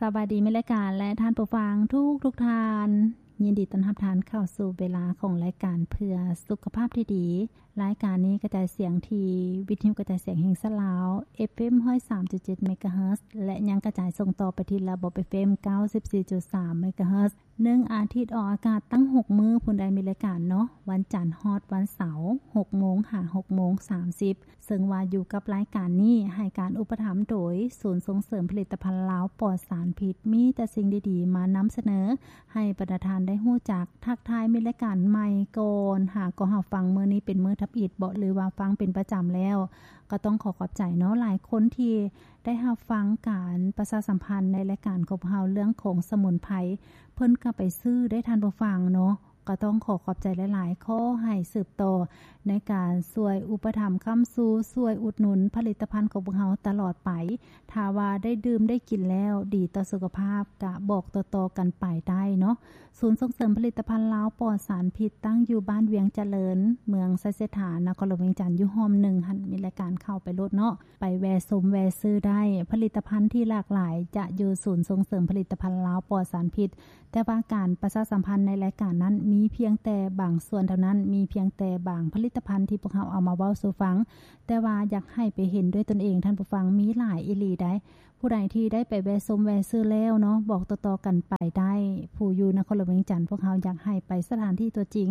ສະບາຍດີ ມິດລາຍການ ແລະ ທ່ານຜູ້ຟັງທຸກໆທ່ານ. ຍິນດີຕ້ອນຮັບທ່ານເຂົ້າສູ່ເວລາຂອງລາຍການເພື່ອສຸຂະພາບທີ່ດີ. ລາຍການນີ້ກະຈາຍສຽງທີ່ວິທະຍຸກະຈາຍສຽງແຫ່ງຊາດລາວ ເອັຟເອັມ ຮ້ອຍສາມຈຸດເຈັດ ເມກາເຮີດ ແລະ ຍັງກະຈາຍສົ່ງຕໍ່ໄປທີ່ລະບົບ ເອັຟເອັມ ເກົ້າສິບສີ່ຈຸດສາມ ເມກາເຮີດ. ໜຶ່ງອາທິດອອກອາກາດຕັ້ງຫົກມື້ພຸ້ນໃດ໋ ມິດລາຍການເນາະ, ວັນຈັນຮອດວັນເສົາ ຫົກໂມງຫາຫົກໂມງສາມສິບ. ເຊິ່ງວ່າຢູ່ກັບລາຍການນີ້ ໃຫ້ການອຸປະຖຳໂດຍສູນສົ່ງເສີມຜະລິດຕະພັນລາວປອດສານພິດ. ມີແຕ່ສິ່ງດີໆມານຳສະເໜີໃຫ້ບັນດາທ່ານໄດ້ຮູ້ຈັກ. ທັກທາຍມິດລາຍການໃໝ່ກ່ອນ, ຫາກໍຫາຟັງມື້ນີ້ເປັນມື້ທຳອິດເບາະ ຫຼືວ່າຟັງເປັນປະຈຳແລ້ວ ກໍຕ້ອງຂໍຂອບໃຈເນາະ. ຫຼາຍຄົນທີ່ໄດ້ຮັບຟັງການປະຊາສຳພັນໃນລາຍການຂອງພວກເຮົາເລື່ອງຂອງສະໝຸນໄພ ເພິ່ນກໍໄປຊື້ໄດ້ ທ່ານຜູ້ຟັງເນາະ. ກໍຕ້ອງຂໍຂອບໃຈຫຼາຍໆ. ຂໍໃຫ້ສືບຕໍ່ໃນການຊ່ວຍອຸປະຖຳຄ້ຳຊູ, ຊ່ວຍອຸດໜູນຜະລິດຕະພັນຂອງພວກເຮົາຕະຫຼອດໄປ. ຖ້າວ່າໄດ້ດື່ມໄດ້ກິນແລ້ວດີຕໍ່ສຸຂະພາບ ກະບອກຕໍ່ໆກັນໄປໄດ້ເນາະ. ສູນສົ່ງເສີມຜະລິດຕະພັນລາວປອດສານພິດ ຕັ້ງຢູ່ບ້ານວຽງຈະເລີນ, ເມືອງໄຊເສດຖາ, ນະຄອນຫຼວງວຽງຈັນ, ຢູ່ຮ່ອມໜຶ່ງຫັ້ນ ມີລາຍການເຂົ້າໄປໂລດເນາະ. ໄປແວ່ຊົມແວ່ຊື້ໄດ້. ຜະລິດຕະພັນທີ່ຫຼາກຫຼາຍຈະຢູ່ສູນສົ່ງເສີມຜະລິດຕະພັນລາວປອດສານພິດ. ແຕ່ວ່າການປະຊາສຳພັນໃນລາຍການນັ້ນ ມີພຽງແຕ່ບາງສ່ວນເທົ່ານັ້ນ, ມີພຽງແຕ່ບາງຜະລິດຕະພັນທີ່ພວກເຮົາເອົາມາເວົ້າສູ່ຟັງ, ແຕ່ວ່າຢາກໃຫ້ໄປເຫັນດ້ວຍຕົນເອງ, ທ່ານຜູ້ຟັງ, ມີຫຼາຍອີ່ຫຼີໃດ໋. ຜູ້ໃດທີ່ໄດ້ໄປແວ່ຊົມແວ່ຊື້ແລ້ວເນາະ, ບອກຕໍ່ໆກັນໄປໄດ້. ຜູ້ຢູ່ນະຄອນຫຼວງວຽງຈັນ, ພວກເຮົາຢາກໃຫ້ໄປສະຖານທີ່ຕົວຈິງ,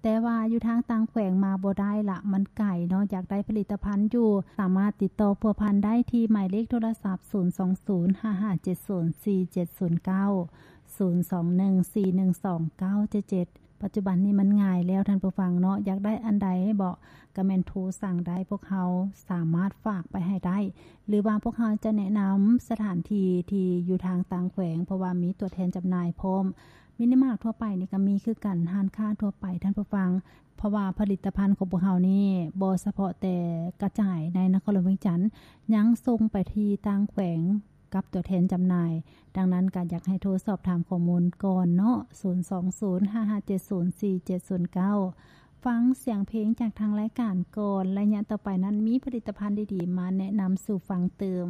ແຕ່ວ່າຢູ່ທາງຕ່າງແຂວງມາບໍ່ໄດ້ລະ, ມັນໄກເນາະ, ຢາກໄດ້ຜະລິດຕະພັນຢູ່, ສາມາດຕິດຕໍ່ພົວພັນໄດ້ທີ່ໝາຍເລກໂທລະສັບ ສູນສອງສູນ ຫ້າຫ້າເຈັດສູນ ສີ່ເຈັດສູນເກົ້າ ສູນສອງໜຶ່ງ ສີ່ໜຶ່ງສອງ ເກົ້າເຈັດເຈັດ. ປັດຈຸບັນນີ້ມັນງ່າຍແລ້ວ ທ່ານຜູ້ຟັງເນາະ, ຢາກໄດ້ອັນໃດເບາະ ກະແມ່ນໂທສັ່ງໄດ້, ພວກເຮົາສາມາດຝາກໄປໃຫ້ໄດ້ ຫຼືວ່າພວກເຮົາຈະແນະນຳສະຖານທີ່ທີ່ຢູ່ທາງຕ່າງແຂວງ, ເພາະວ່າມີຕົວແທນຈຳໜ່າຍພ້ອມ. ມິນິມາດທົ່ວໄປນີ້ກໍມີຄືກັນ, ຮ້ານຄ້າທົ່ວໄປ, ທ່ານຜູ້ຟັງ, ເພາະວ່າຜະລິດຕະພັນຂອງພວກເຮົານີ້ບໍ່ສະເພາະແຕ່ກະຈາຍໃນນະຄອນຫຼວງວຽງຈັນ, ຍັງສົ່ງໄປທີ່ຕ່າງແຂວງ ກັບຕົວແທນຈຳໜ່າຍ. ດັ່ງນັ້ນກໍຢາກໃຫ້ໂທສອບຖາມຂໍ້ມູນກ່ອນເນາະ, ສູນສອງສູນ ຫ້າຫ້າເຈັດສູນ ສີ່ເຈັດສູນເກົ້າ. ຟັງສຽງເພງຈາກທາງລາຍການກ່ອນ, ໄລຍະຕໍ່ໄປນັ້ນມີຜະລິດຕະພັນດີໆມາແນະນຳສູ່ຟັງຕື່ມ.